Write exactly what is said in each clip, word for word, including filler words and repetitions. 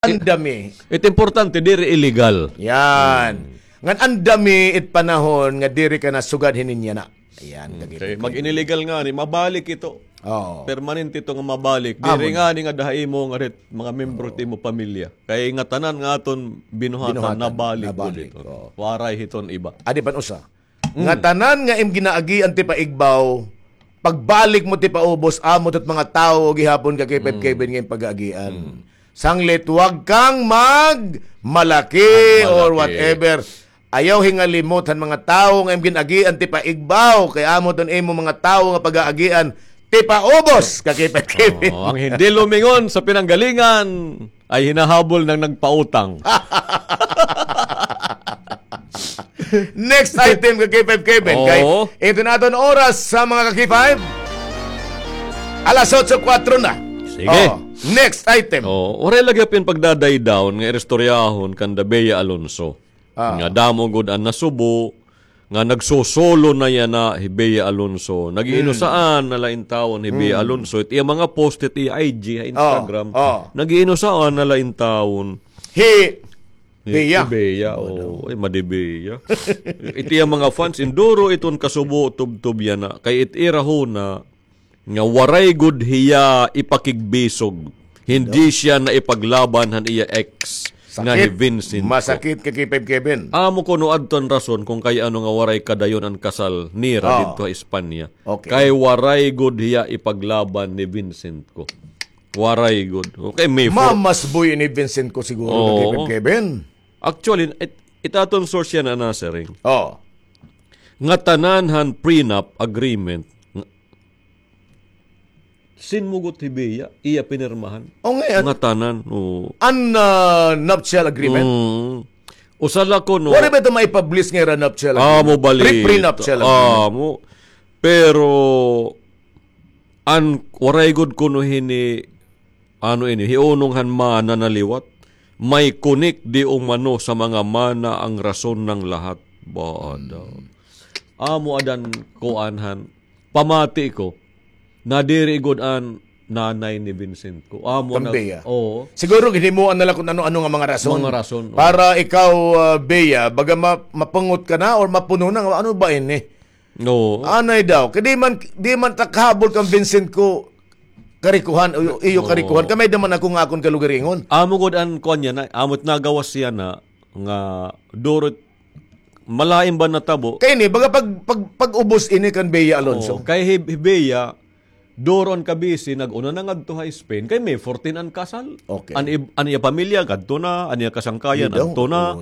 Andami. It importante, diri illegal. Yan. Ngan andami it panahon nga diri ka na sugad hinin yana. Ayan, kay mag-inillegal ngani, mabalik ito. Oo. Permanente ito nga mabalik. Diri ngani nga daha imo nga rit, mga membro it imo pamilya. Kay ngatanan nga aton binuhatan, nabalik gud ito. Waray hiton iba. Adi pa an usa. Ngatanan nga im ginaagian ti paigbaw, pagbalik mo ti paubos, amo ito it mga tawo gihapon ka kay Pep Kevin nga im pag-aagian. Sanglit, wag kang magmalaki or whatever. Ayaw hingalimot han mga tawo nga im gin-agian ti paigbaw, kay amo iton imo mga tawo nga pag-aagian ti paubos ka kay Pep Kevin. Oo, ang hindi lumingon sa pinanggalingan ay hinahabol ng nagpautang. Next item ka K five Kevin. Kay ito na aton oras sa mga ka K five. Alas otso kuwatro na. Sige. Oo. Next item. Oo, waray lagi pin pagdadaydawon nga iristoryahon kanda Bea Alonso. Nga damo gud an nasubo nga nagsosolo na yana hi Bea Alonso. Nag-iinusaan na la intawon hi Bea Alonso. It iya mga post, it iya I G, ha Instagram. Nag-iinusaan na la intawon. Hi Bea. Hi Bea, oo. Ay, madi Bea. It iya mga fans, induro iton kasubo, tubtob yana. Kay it ira huna, nga waray gud hiya ipakigbisog. Hindi siya naipaglaban han iya ex nga hi Vincent Co. Masakit ka K five Kevin. Amo kuno adto an rason kung kay ano nga waray kadayon an kasal nira didto ha Espanya. Okay. Kay waray gud hiya ipaglaban ni Vincent Co. Waray gud. Okay, may for- Mamasboy ni Vincent Co siguro ka K five Kevin. Actually, it, it aton source yana, Nasering. Oo. Nga tanan han prenup agreement, nga sinmugot hi Bea, iya pinirmahan. O, nga, ngatanan, oo. An, ah, nuptial agreement? Mm. Usa la kuno. Waray ba ito maipublish nga ira nuptial agreement? Amo bali. Pre-, prenuptial agreement. Amo. Pero, an waray gud kuno hini, ano ini, hiunong han mana na liwat. May kunik di umano sa mga mana ang rason ng lahat. Ba, ada. Amo adan kuan han. Pamati ko, nadiri gud an nanay ni Vincent Co. Amo na, oo. Siguro ginhimuan na la kun ano-ano nga mga rason. Mga rason, oo. Para ikaw, ah, Bea, baga ma-, mapungot ka na or mapuno na nga, ano ba ini? Oo. Anay daw. Kay di man, di man ta kahabol kan Vincent Co karikuhan, o iyo karikuhan. Kay may-ada man ako nga akon kalugaringon. Amo gud an kuan yana, amo it nagawas yana nga duro it malain ba natabo? Kay ini, baga pag, pag, pag-ubos ini kan Bea Alonso. Oo, kay hi, hi Bea, duro an kabisi, nag-una na ngadto ha Spain. Kay May fourteen an kasal. Okay. An ib-, an iya pamilya, ngadto na, an iya kasangkayan, adto na.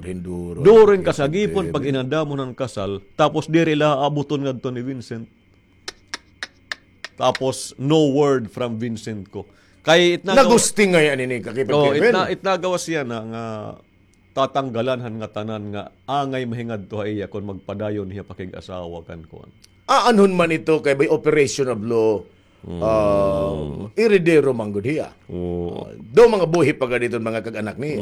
Duro an kasagipon, pag-inandamon an kasal. Tapos diri la abuton ngadto ni Vincent. Tapos, no word from Vincent Co. Kay it nagawa-, nagusting ngay-an ini ka K five Kevin. It na-, it nagawas yana nga tatanggalan han ngatanan nga angay mahingadto ha iya kon magpadayon hiya pakig-asawa kan kuan. Aanhon man ito kay by operation of law, ah, heredero man gud hiya. Oo. Ah, daw mga buhi pa gad iton mga kag-anak niya.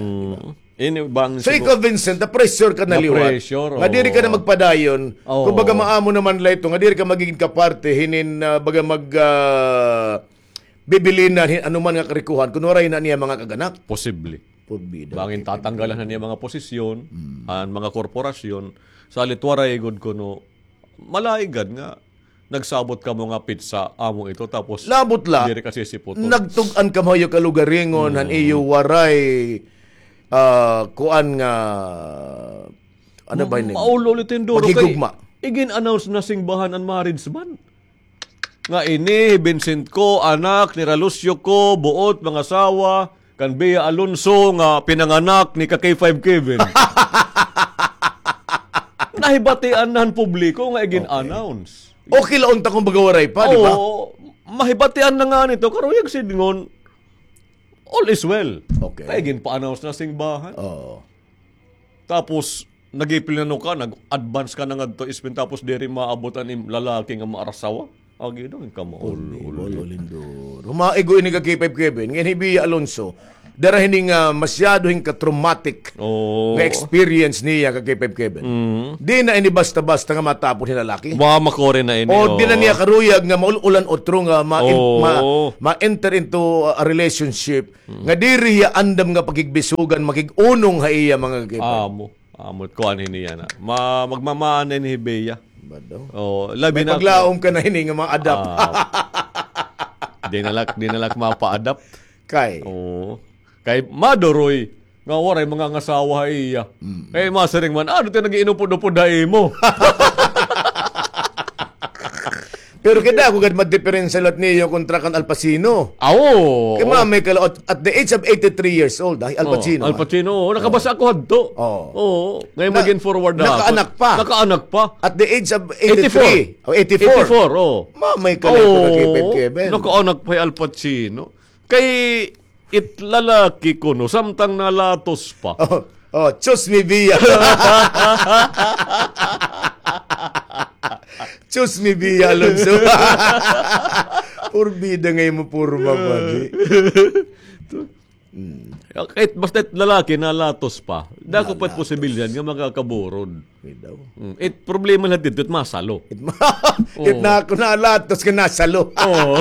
Ini bang so, ikaw, Vincent, na-pressure ka na liwat. Na-pressure, oo. Nga diri ka na magpadayon. Oo. Kumbaga, maamo naman la ito, nga diri ka magigin kaparte hinin, ah, baga mag, ah, bibilinan hin anuman nga karikuhan, kun waray na niya mga kag-anak. Posible. Bangin tatanggalan na niya mga posisyon, an mga korporasyon, salit waray gud kuno, malaigad nga, nagsabot kamo nga petsa amo ito, tapos labot la, diri ka sisiputon. Nagtug-an kamo ha iyo kalugaringon, han iyo waray, ah, kuan nga, ano ba ini? Maul-ol ito hin duro kay paghigugma. Igin-announce na simbahan an marriage ban. Nga ini, Vincent Co, anak ni Ralucio Co, buot, mangasawa, kan Bea Alonso nga pinanganak ni ka K five Kevin. Nahibatian na han publiko nga igin-announce. Okay la unta kun baga waray pa, di ba? Oo, mahibatian na ngani ito, karuyag sidngon, all is well. Okay. Kay igin-pa-announce na simbahan. Oo. Tapos, nagipil na no ka, nag-advance ka na ngadto Spain, tapos diri maabot an im lalaki nga maarasawa. Agi daw, kamaul-ul. Humaigo ini ka K five Kevin. Ngayon, hi Bea Alonso, Dara hini nga masyado hin ka-traumatic Oo. nga experience niya, ka K five Kevin. Mm. Di na ini basta-basta nga matapon hin lalaki. Wa, makuri na ini, O, di na oo. niya karuyag nga maul-ulan utro nga ma-, Oo. ma-, ma-enter into a relationship Mm. nga diri hiya andam nga pakigbisugan, makig-unong ha iya, mga ka-K five. Amo. Amo, kuan hini yana. Ma-, magmamaan na ini hi Bea. Ba daw? Oo, labi May na paglaom ka na hini nga ma-adapt. Ah, di na la, di na la mapa-adapt. Kay? Oo. Kay maduroy nga waray mangangasawa ha iya. Mm. Kay masiring man, ano ti nag-iinupod-upod ha imo? Pero kay dako gad madiperensya liwat niyo kontra kan Al Pacino. Aw, oo. Kay mamay ka la-, at, at the age of eighty-three years old, ah, Al Pacino, Oh, Al ah. Pacino, oo. Nakabasa ako hadto. Oo. Oo. Ngayon Na-, maging forward na ako. nakaanak pa. Nakaanak pa. At the age of eighty-three. Eighty-four. O, eighty-four. Eighty-four, oo. Mamay ka la Oo. ito ka Kevin, Kevin. Nakaanak pa hi Al Pacino. Kay it lalaki kuno, samtang nalatos pa. Oh, oh, choose me, Bea. Choose me, Bea Alonzo. Purbida nga imo porma, padi. Mm. Kahit basta it lalaki, nalatos pa. Dako pa it Nalatos. posibilidad nga makakaburod. May daw. Mm. It problema la didto, it masalo. It ma-, Oo. it na, nalatos nga nasalo. Oo.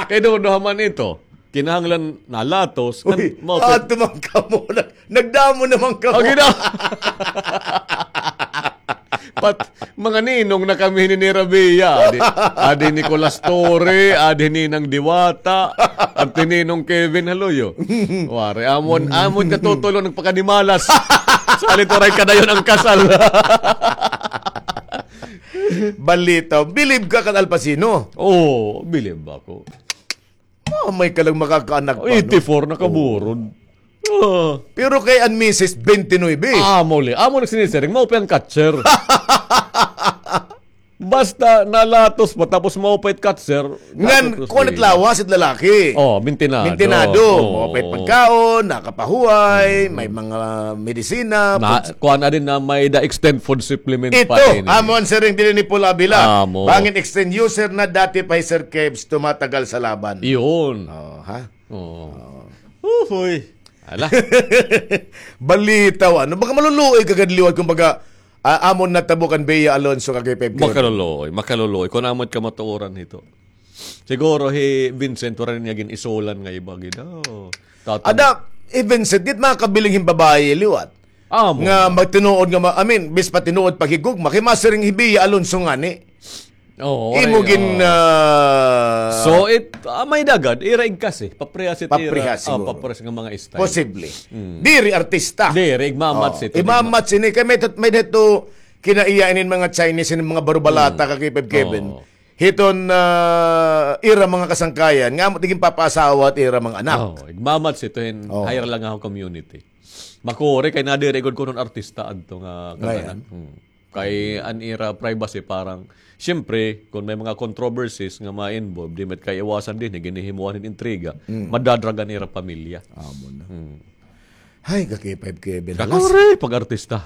Kay duha-duha man ito. Kinahanglan nalatos, Uy, ngan mao pa adto man kamo. Nag-, nagdamo naman kamo. Agi na. Pat, mga ninong na kami hini ni Rabia. Adi, adi Nicolas Torre, adi Ninang Diwata, at ni Ninong Kevin Haluyo. Wari, amon, amon katutulon nagpakanimalas. Salit waray kadayon ang kasal. Balita, bilib ka kan Al Pacino? Oo, bilib ako. Mamay ka la makakaanak pa, no? Eighty-four, nakaburod. Oo. Ah. Pero kay an misis, twenty-nine. Ah, muli. Amo nagsinisiring, mao pa an catcher. Basta nalatos pa, tapos mao pa it catcher. Ngan, kuan it lawas it lalaki. Oh, mintinado. Mintinado. Oo. Mao pa it pagkaon, nakapahuway, may mga medisina, Na, food kuan na din na may da extend food supplement pa din. Ito, amo an siring dinhi ni Paul Avila. Amo. Bangin extend user na dati pa hi Sir Kebs, tumatagal sa laban. Iyon. Oh, ha? Oo. Oo. Uy. Ala. Balitaw, ano? Baka maluluoy ka gad liwat, kumbaga, ah, amon natabo kan Bea Alonzo kay Pep Kevin. Makaluluoy, makaluluoy. Kun amo it kamatuoran hito. Siguro hi Vincent, waray niya gin-isulan nga iba gid. Oh, tatang- Ada, hi Vincent, di it makabiling hin babaye liwat. Amo. Nga magtinuod nga ma-, I mean, bis pa tinuod paghigugma, kay masiring hi Bea Alonzo ngani. Oo, imo gin, ah, so it, ah, may dagad, ira igkasi, paprehas it ira, paprehas siguro. Paprehas nga mga style. Posible. Mm. Diri artista. Diri, igmamatch ito. Igmamatch ini, kay may tat-, may dito kinaiya inin mga Chinese, inin mga barubalata, ka Kevin. Oo. Hiton, ah, ira mga kasangkayan, nga amo tigin papaasawa it ira mga anak. Oo, igmamatch ito hin higher lang ako community. Makuri kay nadiri gud kuno an artista adto nga kaganak. Hmm. Kay an ira privacy parang, siyempre, kun may mga controversies nga ma-involve, di met kaiwasan dinhi, ginihimuan hin intriga, madadrag an ira pamilya. Amo na. Hmm. Hay, ka K five Kevin. Halas. Kakuri, pag-artista.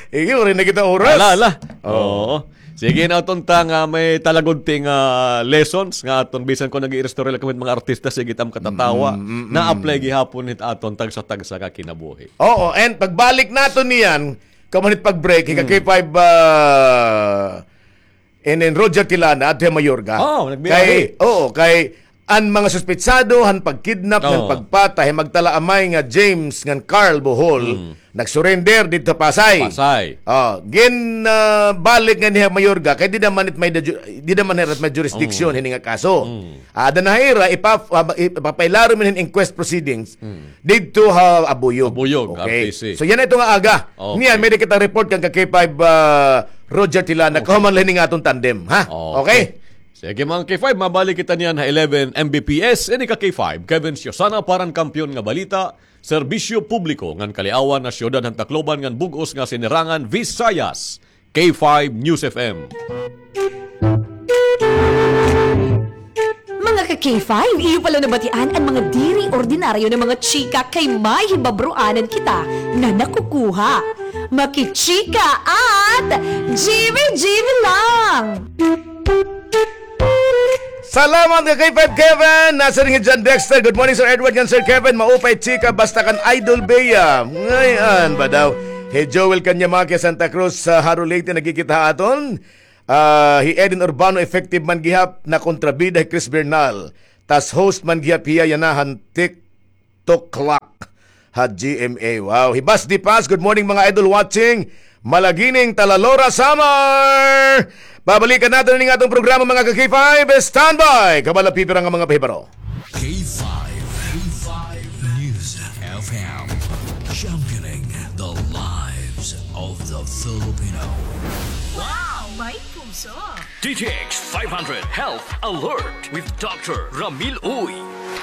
Igi, waray na kita oras. Ala, ala. Oo. Sige na, aton ta nga may talagod ti nga lessons nga aton bisan kon nag-iiristorya la kami mga artista, sige tam katatawa. Mm, mm, mm. Na-apply gihapon hit aton tagsa-tagsa nga kinabuhi. Oo, and pagbalik naton niyan, kamanit pag-break, hika K five, ah, And then Roger Tilana, adto ha Mayorga. Oh, nagbiyahe. Kay, oo, kay an mga suspetsado han pagkidnap ngan pagpatay han magtalaamay nga James ngan Carl Bohol, nagsurrender didto ha Pasay. Pasay. Oh, gin, ah, balik nganhi ha Mayorga, kay dida man it may da ju-, dida man hira may jurisdiction hini nga kaso. Ada na hira, ipa-, ah, ipapailarom hin inquest proceedings didto ha Abuyog. Abuyog, okay. R T C. So, yana ito nga aga. Okay. Niyan, may kita report kan ka K five, ah, Roger Tilana. Okay. Kahuman la hini nga aton tandem, ha? Okay. Okay. Sige, mga K five, mabalik kita niyan ha eleven M B P S. Ini ka K five, Kevin Siosana, para han kampiyon nga balita, serbisyo publiko ngan kaliawan ha siyudad han Tacloban ngan bug-os nga sinirangan Visayas. K five News F M. Mga ka K five, iyo pa la nabatian an mga diri ordinaryo nga mga chika kay may hibabroanan kita nga nakukuha. Makichika at G B G B lang! Salamat ka K five Kevin. Nasa rin hi John Dexter. Good morning, Sir Edward, ngan Sir Kevin. Maupay chika basta kan Idol Bea. Ngayon ba daw? Hi Joel Kanyamaki, Santa Cruz, sa Jaro, Leyte, nagkikita ha aton. Ah, hi Eden Urbano, effective man gihap na kontrabida hi Chris Bernal. Tas host man gihap hiya yana han TikTok Clock ha G M A. Wow. Hi Bas Dipas, good morning, mga idol watching. Malagining, Talalora, Samar! Babalikan natin ang ating programa, mga ka-K five. Standby! Kabala, pipira nga mga pahibaro. K five, K five News F M, championing the lives of the Filipino. Wow! May puso! D T X five hundred Health Alert with Doctor Ramil Uy.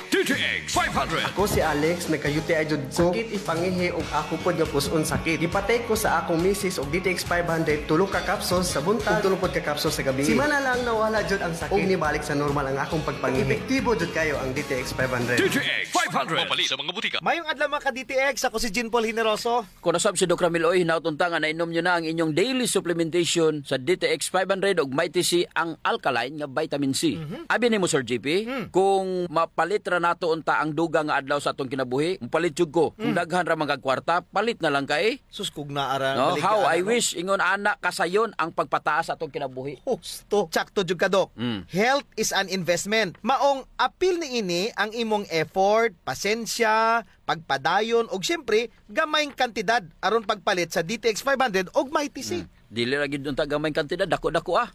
D T X five hundred. Ako si Alex, nagka-U T I jud ko. Sakit ipangihi ug ako pod nga pus-on sakit. Gipatake ko sa akong misis og D T X five hundred, tulo ka capsules sa buntag, ug tulo pod ka capsules sa gabii. Simana lang nawala jud ang sakit. Ug nibalik sa normal ang akong pagpangihi. Epektibo jud kayo ang D T X five hundred. D T X five hundred. Mapalit sa mga butika. Mayong adlaw, mga ka-D T X. Ako si Jean Paul Generoso. Kon nasab si Doc Ramil Uy, hinaot unta nga nainom niyo na ang inyong daily supplementation sa D T X five hundred ug Mighty C, ang alkaline nga vitamin C. Mhm. Abi nimo, Sir G P, Hmm. kung mapalit ra nato unta ang dugang nga adlaw sa atong kinabuhi, mopalit jud ko. Kung Hmm. daghan ra man kag kwarta, palit na lang kay. Sus, kung naa ra, No, balik how ka I na, no? wish, ingon ana, kasayon ang pagpataas sa atong kinabuhi. Husto. Tsakto jud ka, Doc. Mm. Health is an investment. Maong apil niini ang imong effort, pasensya, pagpadayon, ug siyempre, gamayng kantidad aron pagpalit sa D T X five hundred ug Mighty C. Hmm. Dili ra gyud unta gamayng kantidad, dako-dako, ah.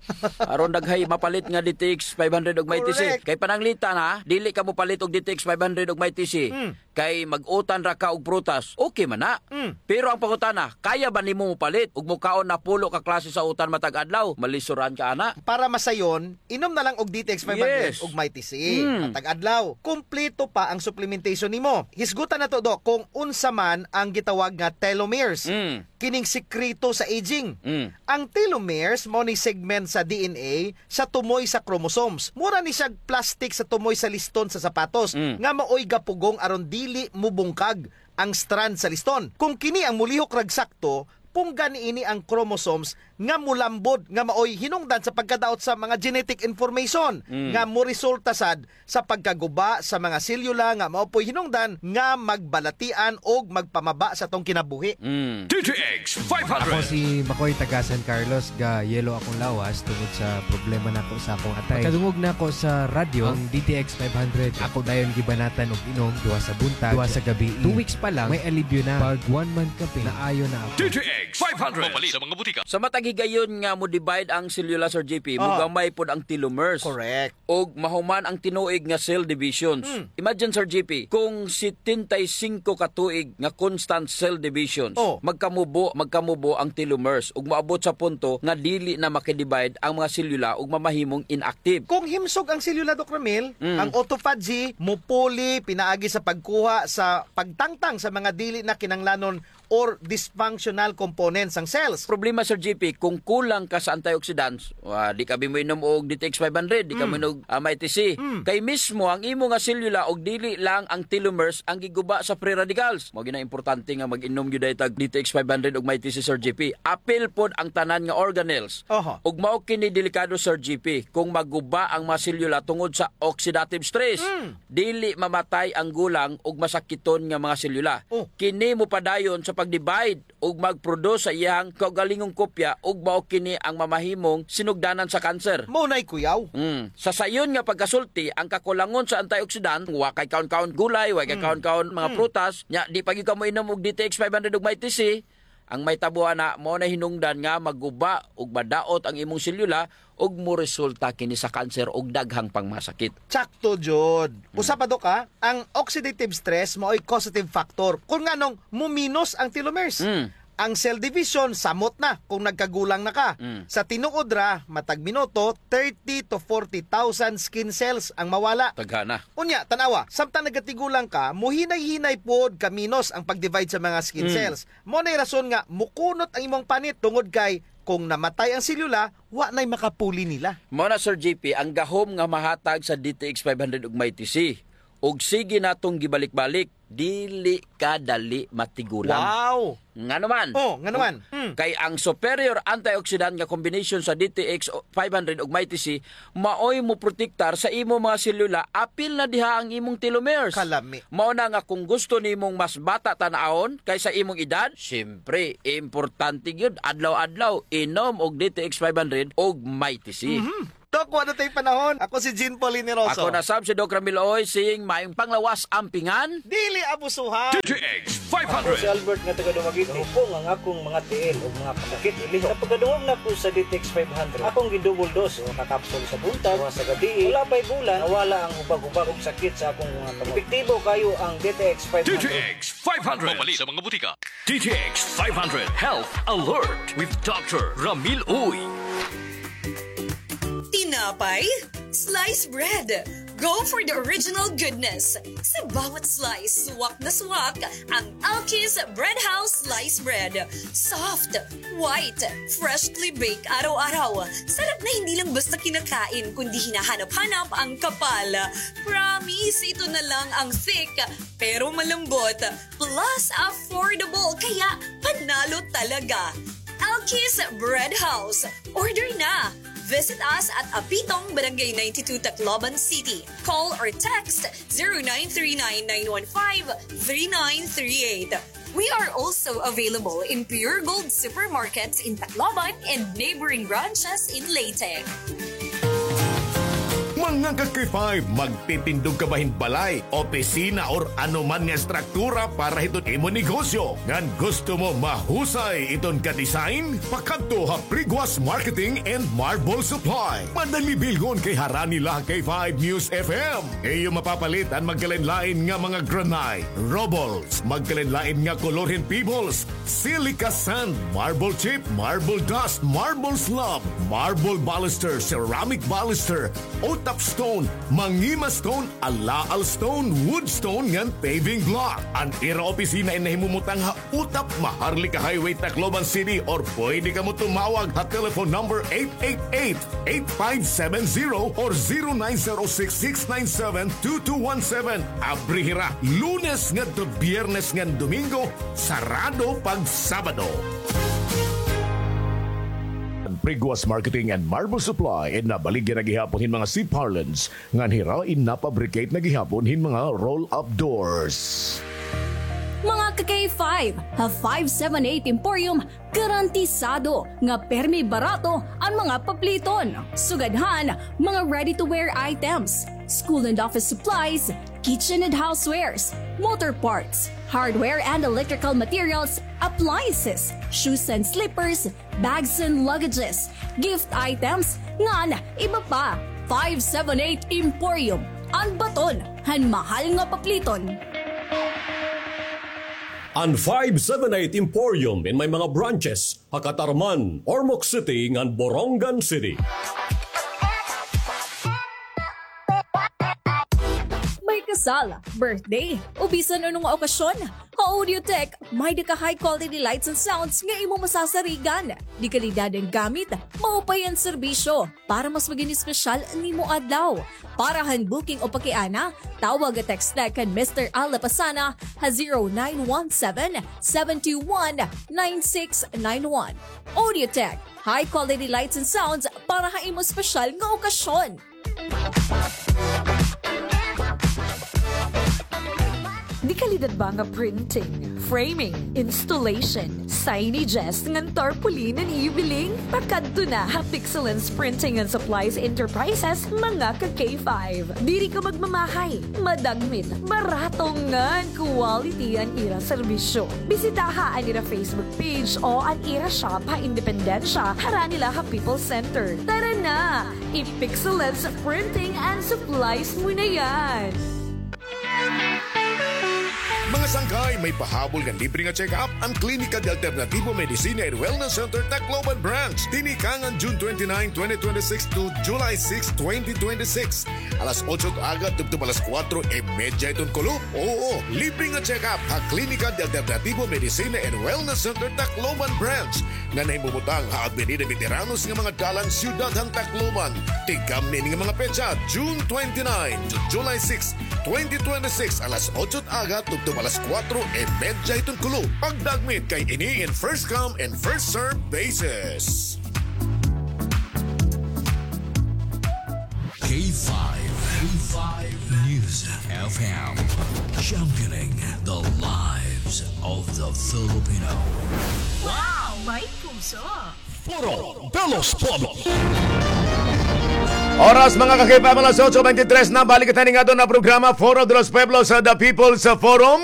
Aron daghay mapalit nga D T X five hundred ug Mighty C. Correct. Kay pananglitan, ha, dili ka mopalit og D T X five hundred ug Mighty C. Hmm. Kay mag-utan ra ka og prutas, okay man na. Hmm. Pero ang pangutana, kaya ba nimo mopalit ug mokaon na pulo ka klase sa utan matag adlaw? Malisuran ka ana. Para masayon, inom na lang og D T X five hundred Yes. ug Mighty C. Hmm. Matag adlaw. Kumpleto pa ang supplementation nimo. Hisgutan nato, Doc, kung unsa man ang gitawag nga telomeres. Hmm. Kining sikreto sa aging. Mm. Ang telomeres mao ni segment sa D N A sa tumoy sa chromosomes. Mura ni siya plastic sa tumoy sa liston sa sapatos Mm. nga maoy gapugong aron dili mubungkag ang strand sa liston. Kung kini ang mulihok rag sakto, pungga niini ang chromosomes nga mulambod nga maoy hinungdan sa pagkadaot sa mga genetic information Mm. nga moresulta sad sa pagkaguba sa mga selyula nga mao po'y hinungdan nga magbalatian og magpamaba sa atong kinabuhi. Mm. D T X five hundred. Ako si Makoy, taga San Carlos, ga yellow akong lawas tungod sa problema nako sa akong atay. Pagkadungog nako sa radyo, ang D T X five hundred, ako dayon gibanatan og inom, duha sa buntag, duha sa gabii. Two weeks pa lang, may alibyo na. Pag one month ka, Ping, naayo na ako. D T X five hundred. Mapalit sa mga butika. Sa matag higayon nga mo-divide ang selula, Sir J P, Ah. mogamay pod ang telomeres. Correct. Ug mahuman ang tinuig nga cell divisions. Hmm. Imagine, Sir J P, kung setenta y cinco ka tuig nga constant cell divisions, Oh. magkamubo, magkamubo ang telomeres ug maabot sa punto nga dili na makidivide ang mga selula ug mamahimong inactive. Kung himsog ang selula, Doc Ramil, Mm. ang autophagy mupuli pinaagi sa pagkuha sa pagtangtang sa mga dili na kinahanglanon or dysfunctional components sang cells. Problema, Sir J P, kung kulang ka sa antioxidants, wa, di ka bi moinom og D T X five hundred, di ka Mm. moinom og, ah, Mighty C. Mm. Kay mismo ang imo nga selula og dili lang ang telomeres ang giguba sa free radicals. Mao gyud ang importante nga mag-inom gyud diay tag D T X five hundred ug Mighty C, Sir J P. Apil pod ang tanan nga organelles. Aha. Ug mao kini delikado, Sir J P, kung maguba ang mga selula tungod sa oxidative stress. Mm. Dili mamatay ang gulang ug masakiton nga mga selula. Oh. Kini mopadayon sa pag-divide ug mag-produce sa iyang kaugalingong kopya ug mao kini ang mamahimong sinugdanan sa cancer. Mao nay kuyaw. Mm. Sa sayon nga pagkasulti, ang kakulangon sa antioxidant, wa kay kaon-kaon gulay, wa kay Mm. kaon-kaon mga Mm. prutas, nya di pa gyud ka moinom og D T X five hundred ug Mighty C, ang mahitabo ana, mao na hinungdan nga maguba ug madaot ang imong selula ug moresulta kini sa cancer ug daghang pang masakit. Tsakto jud. Mm. Usa pa, Doc, ha, ang oxidative stress maoy causative factor kung nganong muminos ang telomeres. Mm. Ang cell division, samot na kung nagkagulang na ka. Mm. Sa tinuod ra, matag minuto, thirty to forty thousand skin cells ang mawala. Daghana. Unya, tan-awa, samtang nagatigulang ka, muhinay-hinay pod kaminos ang pag-divide sa mga skin Mm. cells. Mao nay rason nga mukunot ang imong panit tungod kay kung namatay ang selula, wa nay makapuli nila. Mao na, Sir J P, ang gahom nga mahatag sa D T X five hundred ug Mighty C. Ug sige natong gibalik-balik. Dili ka dali matigulang. Wow! Ngano man? Oh, ngano man? Mm. Kay ang superior antioxidant nga combination sa D T X five hundred ug Mighty C maoy moprotektar sa imong mga selula, apil na diha ang imong telomeres. Kalami. Mao na nga kung gusto nimong mas bata tan-awon kaysa imong edad, siyempre, importante gyud, adlaw-adlaw inom og D T X five hundred ug Mighty C. Mhm. Doc, wala na tay panahon. Ako si Jean Paul Hiniroso. Ako na sab si Doc Ramil Uy, saying maayong panglawas, ampingan. Dili abusuhan. D T X five hundred. Ako si Albert nga taga Dumaguete. Hupong ang akong mga tiil ug mga kasakit ilihok. Sa pagkadungog nako sa D T X five hundred, akong gi-double dose, usa ka kapsul sa buntag, usa sa gabii. Wala pa'y bulan, nawala ang hubag-hubag ug sakit sa akong mga kamot. Epektibo kaayo ang D T X five hundred. D T X five hundred. Mapalit sa mga butika. D T X five hundred Health Alert with Doctor Ramil Uy. Tinapay? Slice bread. Go for the original goodness. Sa bawat slice, swak na swak ang Alki's Bread House Slice Bread. Soft, white, freshly baked araw-araw. Sarap na hindi lang basta kinakain, kundi hinahanap-hanap ang kapal. Promise, ito na lang ang thick, pero malambot. Plus, affordable, kaya panalo talaga. Alki's Bread House. Order na! Visit us at Apitong, Barangay ninety-two, Tacloban City. Call or text zero nine three nine, nine one five, three nine three eight. We are also available in Pure Gold supermarkets in Tacloban and neighboring branches in Leyte. Mga ka-K five, magtitindog ka ba hin balay, opisina, or ano man nga estruktura para hiton imo negosyo? Ngan gusto mo mahusay iton ka-design? Pakadto ha Priguas Marketing and Marble Supply. Madali bilhon kay harani la ha K five News F M. Iyo mapapalit an magkalain-lain nga mga granite, rubbles, magkalain-lain nga kolor hin pebbles, silica sand, marble chip, marble dust, marble slab, marble baluster, ceramic baluster, Otap stone, Mangima stone, Alaal stone, wood stone ngan paving block. An ira opisina in nahimumutang ha Otap, Maharlika Highway, Tacloban City, or pwede kamo tumawag ha telephone number eight eight eight, eight five seven zero or zero nine zero six, six nine seven, two two one seven. Abri hira Lunes ngadto Biyernes ngan Domingo, sarado pag Sabado. An Priguas Marketing and Marble Supply in nabaligya na gihapon hin mga C-parlance ngan hira in napabricate na gihapon hin mga roll-up doors. Mga ka-K five, ha five seven eight Emporium, garantisado nga permi barato an mga papliton. Sugad han mga ready-to-wear items, school and office supplies, kitchen and housewares, motor parts, hardware and electrical materials, appliances, shoes and slippers, bags and luggages, gift items, ngan iba pa. Five seven eight Emporium, an baton han mahal nga papliton. An Five seven eight Emporium in may mga branches ha Catarman, Ormoc City, ngan Borongan City. May kasal, birthday, o bisan ano nga okasyon, ha Audiotech, may-da ka high quality lights and sounds nga imo masasarigan. De kalidad an gamit, maupay an serbisyo. Para mas magin espesyal an imo adlaw. Para han booking o pakiana, tawag o text la kan Mister Al Lapasana ha zero nine one seven, seven two one, nine six nine one. Audiotech, high quality lights and sounds para ha imo espesyal nga okasyon. De kalidad ba nga printing, framing, installation, signages, ngan tarpaulin an iyo biling? Pakadto na ha Pixelens Printing and Supplies Enterprises, mga ka-K five. Diri ka magmamahay, madagmit, barato ngan quality an ira serbisyo. Bisitaha an ira Facebook page o an ira shop ha Independencia, harani la ha People's Center. Tara na! I-Pixelens Printing and Supplies mo na yan! Mga Sangkay, may pahabol nga libre nga check-up an Klinika de Alternativo Medicina and Wellness Center Tacloban Branch. Tinikangan June twenty-nine, twenty twenty-six to July six, twenty twenty-six. Alas otso aga tubtob alas kuwatro y medya hiton kulop. Oo, libre nga check-up ha Klinika de Alternativo Medicina and Wellness Center Tacloban Branch nga nahimubutang ha Avenida Veteranos nga mga dalan, siyudad han Tacloban. Tigam niini nga mga petsa, June twenty-nine to July six, twenty twenty-six, alas otso aga tubtob alas kuwatro y medya hiton kulop. Pagdagmit kay ini in first come and first serve basis. K five, K five News F M, championing the lives of the Filipino. Wow! May puso! Foro de los Pueblos. Oras, mga ka-K five, alas otso beintitres na. Balik kita ning aton nga programa, Foro de los Pueblos, sa The People's Forum.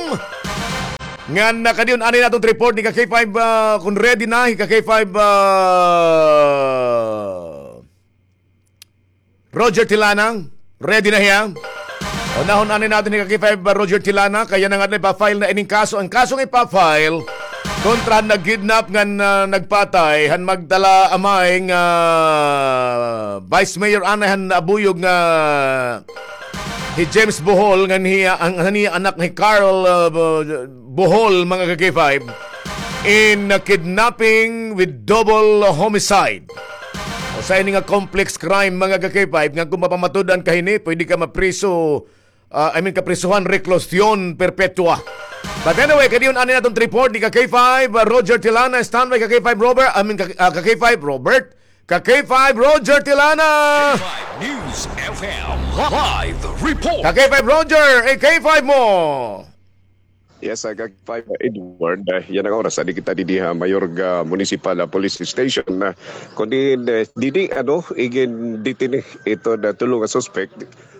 Ngan, ah, kadi an-, anay naton report ni ka-K five, ah, kon ready na hi ka-K five, ah, Roger Tilana, ready na hiya? Unahon anay naton hi ka-K five, uh, Roger Tilana, kay yana nga ipa-file na ining kaso. An kaso nga ipa-file kontra han nag-kidnap ngan, uh, nagpatay han magdala-amay nga Vice Mayor anay han Abuyog nga hi James Bohol ngan hiya, an, an iya anak hi Carl, uh, Bo-, Bohol, mga ka-K five, in, uh, kidnapping with double homicide. Usa ini nga complex crime, mga ka-K five, nga kon mapamatud-an ka hini, pwede ka mapriso, ah, I mean, kaprisohan, reclusion perpetua. But anyway, kadi an-, anay naton report ni ka-K five, ah, Roger Tilana, standby ka-K five, Robert, I mean, ka, ah, ka-K five, Robert, ka-K five, Roger Tilana. K five News F M, live report. Ka-K five, Roger, eh, K five mo. Yes, ah, ka-K five, ah, Edward, ah, yana nga oras, adi kita didi ha Mayorga Municipal, ah, Police Station, ah, kundi, eh, didi, ano, igin-detaine ito nga tulo nga suspect,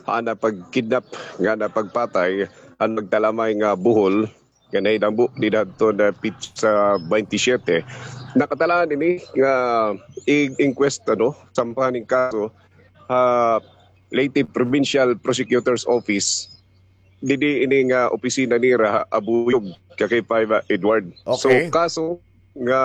ha, nga pagkidnap, ngan pagpatay, han magdala-amay nga Bohol, nga nahitabo dida hadton petsa baynte siyete. Nakatalaan ini nga i-, inquest, ano, sampahan ning kaso, ha Leyte Provincial Prosecutor's Office, didi ini nga opisina nira ha Abuyog, ka-K five, ah, Edward. So, okay, kaso nga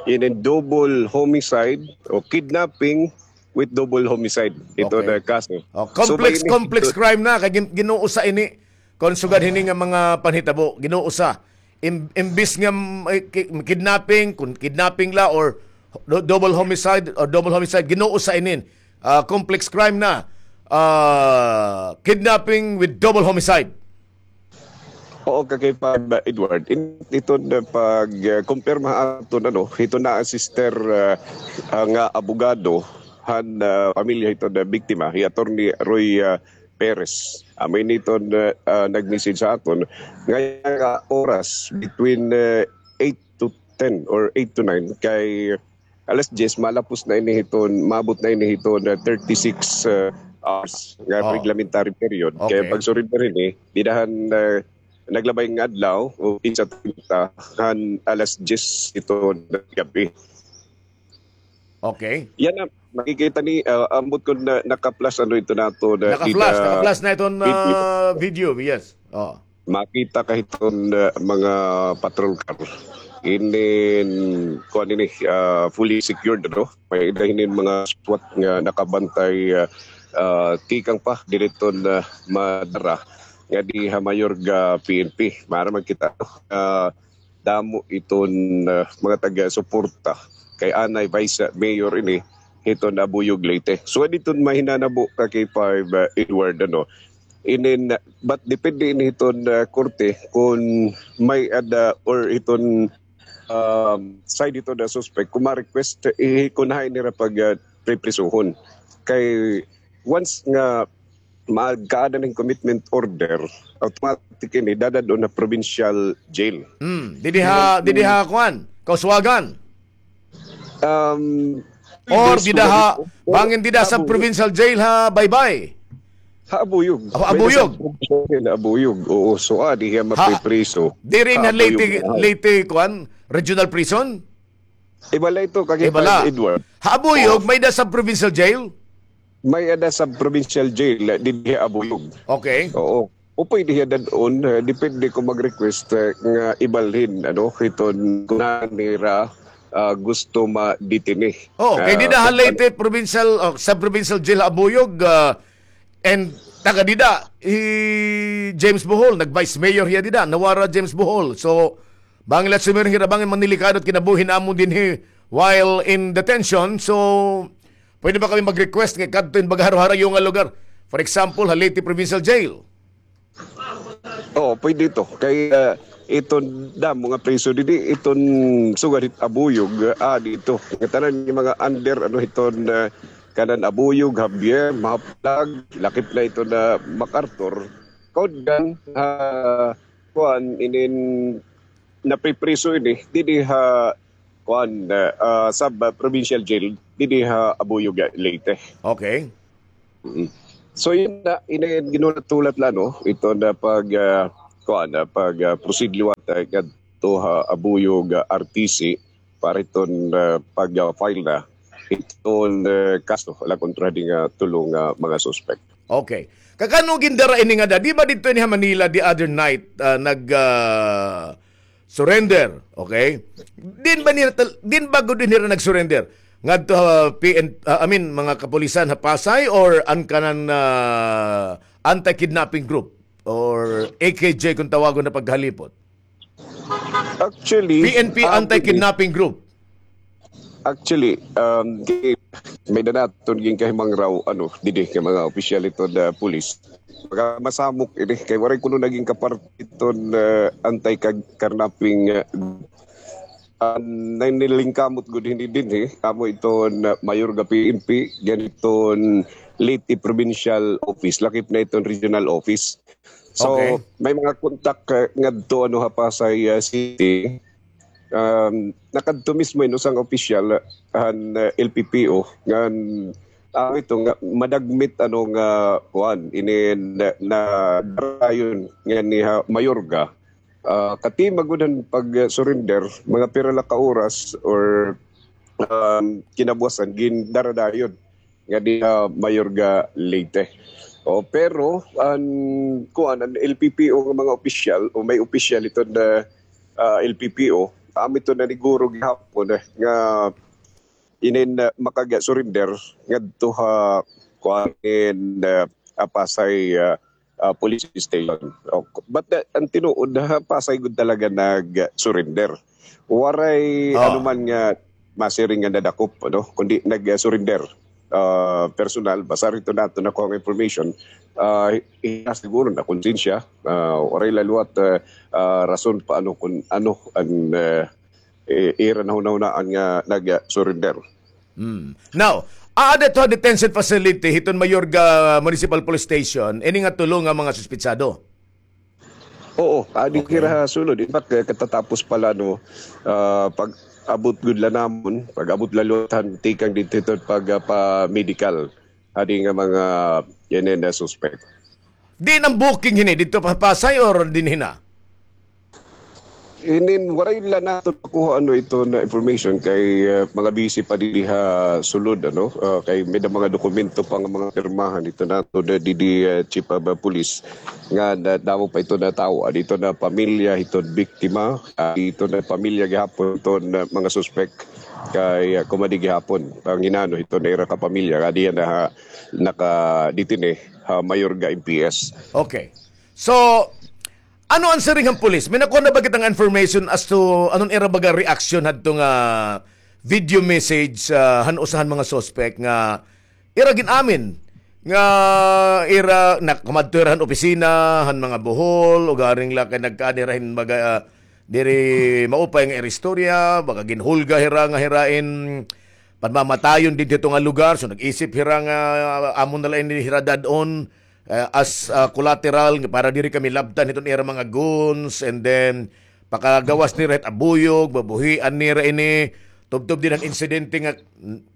ini double homicide o kidnapping with double homicide. Ito, okay, na kaso. Oh, so, complex, may ini-, complex crime na, kay gin-, ginuusa ini. Kon sugad hini nga mga panhitabo, ginuusa. Im-, imbis nga, mm, eh, ki-, kidnapping, kon kidnapping la or do-, double homicide or double homicide, ginuusa inin. Ah, complex crime na. Ah, kidnapping with double homicide. Oo, ka-K five, Edward. In, ito na pag, ah, kumpirma aton, ano, ito na an sister, ah, ah, nga abogado han, ah, pamilya ito na biktima, hi Attorney Roy, ah, Perez. Amo ini iton, ah, nag-message sa aton. Ngada nga oras, between, ah, eight to ten or eight to nine, kay alas dyes, malapos na ini hiton, maabot na ini hiton, ah, thirty-six, ah, hours nga, oh, reglementary period. Kay, okay, pagsurrender ini, dida han, ah, naglabay nga adlaw, o petsa treinta, han alas dyes hiton gab-i. Okay. Yana, makikita ni, ah, ambot kon na, naka-flash ano ito naton, ah, naka-flash, dida, naka-flash na iton, video, ah, video, yes. Oh. Makita ka hiton, ah, mga patrol car. Inin, kuan ini, ah, fully secured, ano? May-ada hinin mga SWAT nga nakabantay, ah, ah, tikang pa dida hiton, ah, Madara, ngadi ha Mayorga P N P. Maaram man kita, ah, damo iton, ah, mga taga-suporta kay anay Vice Mayor ini hiton Abuyog, Leyte. So, didto mahinanabo, ka-K five, ah, Edward, ano, inin, but depende ini hiton, ah, korte kon may-ada or hiton, um, side hiton nga suspect kon ma-request, eh, kon hain nira pag, ah, priprisohon. Kay once nga magkaada hin commitment order, automatic ini dadad-on ha provincial jail. Hmm, didi ha, didi ha kuan, Kauswagan. Um, or dida ha, bangin dida sa provincial jail ha Baybay. Ha Abuyog. Ha Abuyog. May-ada sa provincial jail ha Abuyog. Oo, so, ah, diri hiya mapipriso. Diri ha Leyte, Leyte kuan, regional prison? Iba la ito, ka-K five Edward. Ha Abuyog, may-ada sa provincial jail? May-ada sa provincial jail, eh, didi ha Abuyog. Okay. Oo. O pwede hiya dad-on, eh, depende kon mag-request, eh, nga ibalhin, ano, hiton kon nira, ah, gusto ma-detaine. Oh, kay dida ha Leyte Provincial, oh, Sub-Provincial Jail ha Abuyog, ah, and taga dida, hi James Bohol, nag-vice mayor hiya dida, nawara James Bohol. So, bangin la sumiring hira, bangin manilikado it kinabuhi namon dinhi while in detention. So, pwede ba kami mag-request nga kadto hin baga haro-harayo nga lugar? For example, ha Leyte Provincial Jail. Oo, pwede ito. Kay, ah, iton damo nga preso didi, iton sugad hit Abuyog, ah, dito. Nga tanan nga mga under, ano, hiton, ah, kanan Abuyog, Javier, Mahaplag, lakip na iton MacArthur. Kaudgan, ah, kuan, inin napipriso ini, didi ha, kuan, ah, sub-provincial jail, didi ha Abuyog, Leyte. Okay. Mm. So, yun na, ini, ginulat-hulat la, no? Ito na pag, ah, kuan, ah, pag, ah, proceed liwat, ah, kadto ha Abuyog, ah, R T C, para iton, ah, pag, ah, file na iton, ah, kaso la kontra hini nga tulo nga mga suspect. Okay. Kakano gindara ini nga da? Di ba didto ini ha Manila the other night, ah, nag, ah, surrender, okay? Din ba nira tal-, din ba gud nira nag-surrender ngadto ha P N, ah, I mean, mga kapulisan ha Pasay or an kanan, ah, anti-kidnapping group or A K J kung tawagon na paghalipot? Actually, P N P ah, anti-kidnapping group. Actually, um, di, may-ada naton ginkahimangraw, ano, didi kay mga opisyal iton, ah, pulis. Pagka masamok ini, kay waray kuno naging kaparte iton, ah, anti-kidnapping, ah, an nanilingkamot gud hini dinhi, amo iton, ah, Mayorga P N P, ngan iton Leyte Provincial Office, lakip na iton regional office. So, okay, may mga kontak, ah, ngadto, ano, ha Pasay, ah, City. Um, nakadto mismo in usa nga opisyal, ah, han, ah, L P P O, ngan, ah, ito nga, madagmit, ano, nga, kuan, inin, na, na, dayon, nga ni ha, Mayorga. Ah, katima gud han pag-surrender, mga pira la ka oras or, um, kinabuwasan, gindaradayon nga dinhi ha Mayorga, Leyte. O, pero an, kuan, an L P P O nga mga opisyal, o may opisyal iton, ah, L P P O, amo iton naniguro gihapon, eh, nga inin, ah, makag-surrender ngadto ha, kuan, in, ah, ah, Pasay, ah, ah, police station. O, but, ah, an tinuod, ha Pasay gud talaga nag-surrender. Waray anuman nga masiring nga nadakop, ano, kundi nag-surrender. Ah, personal, basar hito naton nakuha nga information, ah, hi-, hiya siguro nakonsensya, ah, waray la liwat, ah, ah, rason pa ano kun ano an, ah, i-, ira nahunahunaan nga nag-surrender. Hmm. Now, aada ito ha detention facility hiton Mayorga Municipal Police Station ini nga tulo nga mga suspetsado? Oo, adi hira ha sulod. In fact, eh, katatapos pa la, no, ah, pag-abot gud la namon, pag-abot la liwat han tikang didto hiton pag, ah, pa-medical. Adi nga mga, yan, yan, na suspect. Diin an booking hini? Didto pa Pasay or dinhi na? Inin, waray la naton makuha, ano, ito na information kay, ah, mga busy pa didi ha sulod, ano, ah, kay may-ada mga dokumento pa nga mga pirmahan ito naton, ah, didi, ah, chief of, ah, police nga na, damo pa ito nga tawo, ah, dito na pamilya, ito biktima, ah, dito na pamilya gihapon ito na mga suspect kay, ah, kumadi gihapon, panginano ito na ira ka pamilya, kadi na ha, naka-detaine ha Mayorga M P S. Okay. So, ano an siring han pulis? May nakuha na ba kita nga information as to ano an ira baga reaction hadto nga video message, ah, han usa han mga suspect nga ira gin-amin nga ira nakamadto hira han opisina han mga buhol, ugaring la kay nagkaada hira hin baga, ah, diri maupay nga ira istorya, baga ginhulga hira nga hira in panmamatayon didto nga lugar. So, nag-isip hira nga, ah, amo na la ini hira dad-on, eh, as, ah, collateral nga para diri kami labtan hiton ira mga goons, and then pakagawas nira hit Abuyog, babuhian nira ini, tubtob dinhi han insidente nga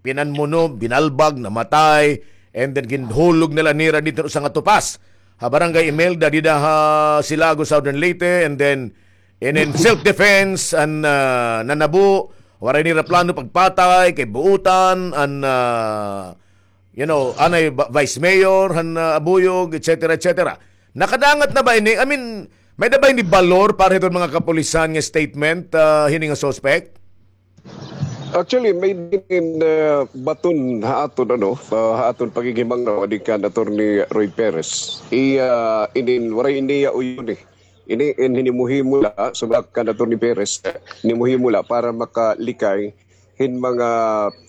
pinanmuno, binalbag, namatay, and then ginhulog na la nira didto usa nga tupas ha Barangay Imelda, dida ha Silago, Southern Leyte, and then, and then self-defense an, ah, nanabo, waray nira plano pagpatay kay buotan an, ah, you know, anay ba-, vice mayor han, ah, Abuyog, et cetera, et cetera. Nakadangat na ba ini? I mean, may da ba ini balor para hiton mga kapulisan nga statement, ah, hini nga suspect? Actually, may din, ah, baton ha aton, ano, ah, ha aton paghighimangnagaw adi kan Attorney Roy Perez. Iya, inin, waray ini iya uyoni. Ini in hinimuhimo la, subak kan Attorney Perez, hinimuhimo la para makalikay hin mga,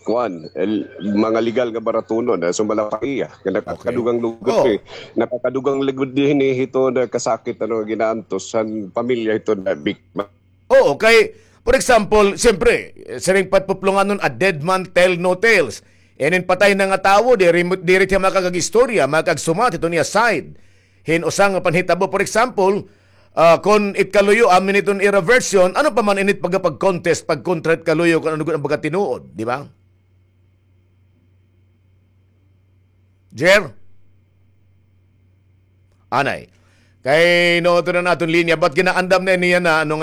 kuan, el-, mga legal nga baratunon, ah, sumala pa iya. Nga nakakadugang lugod Oh. eh. Nakakadugang lugod dinhi hiton kasakit, ano, ginaantos han pamilya hiton biktima. Oo, kay, for example, siyempre, siring pa it puplonganon, a dead man tell no tales. Inin patay na nga tawo, diri, diri siya makakag-istorya, makakagsumat hiton iya side. Hin usa nga panhitabo, for example, ah, kon it kaluyo, amin hiton ira version, ano pa man init pagapag-contest, pagkontra it kaluyo, kon ano gud an pagkatinuod, di ba? Jer? Anay. Kay no, ito na naton linya, but ginaandam na niya na, ano nga